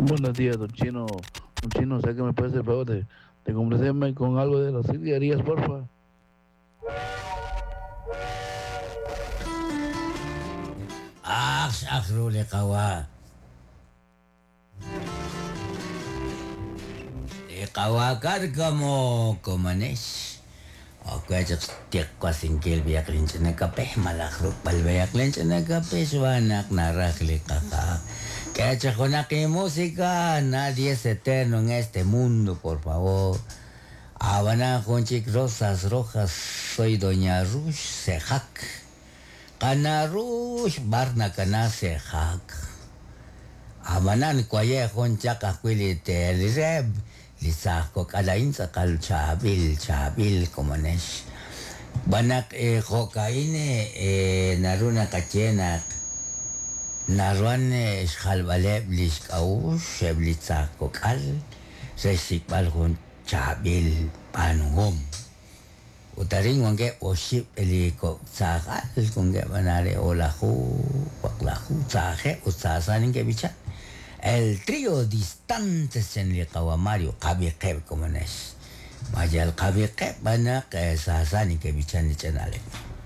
Buenos días, don Chino. Don Chino, ¿sé que me puede hacer el favor de, de complacerme con algo de las Silvia porfa? Ax ax ru li qawa'. Li qawa' Cárcamo komonex. Ok we chaq xtiqwasinkil b'ayaq linch'ina kape malaj ruk'b'al b'ayaq linch'ina kape xb'aan naq naraj li qaja'. K'e chaq junaq inmusika, nadie es eterno en este mundo, por favor. Ab'anan jun chik Rosas Rojas, soy doña Rux Sejak. Qana' Rux, b'ar nakana Sejak. Ab'anan waye' jun chaq ajwi' li teelreb' li saaj kok'al a'in tz'aqal chaab'il, chaab'il komonex. Xb'aan naq jo'ka'in naru naqaye naq naruhan xjalb'aleb' li xk'a'uxl eb' li saaj kok'al re xsik'b'al jun chaab'il b'aanuhom. Ut arin wankeb' oxib' li kok' saaj al, wankeb' anare o'laju, waqlaju, saajeb' ut saasa neke'b'ichan. El trío Distantes chan li qawa' Mario, qab'iqeb' komonex. Ma yal qab'iqeb' b'an naq saasa neke'b'ichan li ch'ina'leb'.